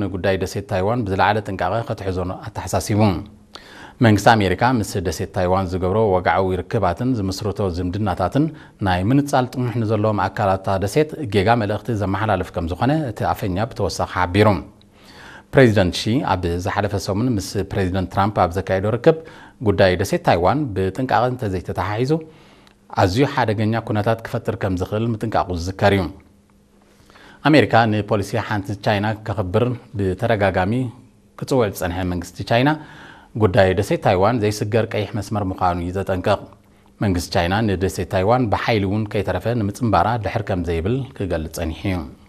ንጉዳይ ደሴት ታይዋን ብዝለዓለ ጥንቃቐ ክትሕዞ ኣተሓሳሲቡ። መንግስቲ ኣሜሪካ ምስ ደሴት ታይዋን ዝገብሮ ወግዓዊ ርክባትን ዝምስርቶ ዝምድናታትን ናይ ምንጻል ጥሙሕ ንዘለዎም ኣካላት እታ ደሴት ጌጋ መልእኽቲ ዘመሓላልፍ ከም ዝኾነ እቲ ኣፈኛ ብተወሳኺ ሓቢሩ። ፕሬዚደንት ሺ ኣብ ዝሓለፈ ሰሙን ምስ ፕሬዚደንት ትራምፕ ኣብ ዘካየዶ ርክብ፣ ጉዳይ ደሴት ታይዋን ብጥንቃቐ እንተዘይተተሓሒዙ ኣዝዩ ሓደገኛ ኩነታት ክፈጥር ከም ዝኽእል ምጥንቃቑ ዝዝከር እዩ። ኣሜሪካ ንፖሊሲ ሓንቲ ቻይና ከኽብር ብተደጋጋሚ ክጽውዕ ዝጸንሐ መንግስቲ ቻይና፣ ጉዳይ ደሴት ታይዋን ዘይስገር ቀይሕ መስመር ምዃኑ እዩ ዘጠንቅቕ። መንግስቲ ቻይና ንደሴት ታይዋን ብሓይሊ እውን ከይተረፈ ንምጽንባራ ድሕር ከም ዘይብል ክገልጽ ጸኒሑ እዩ።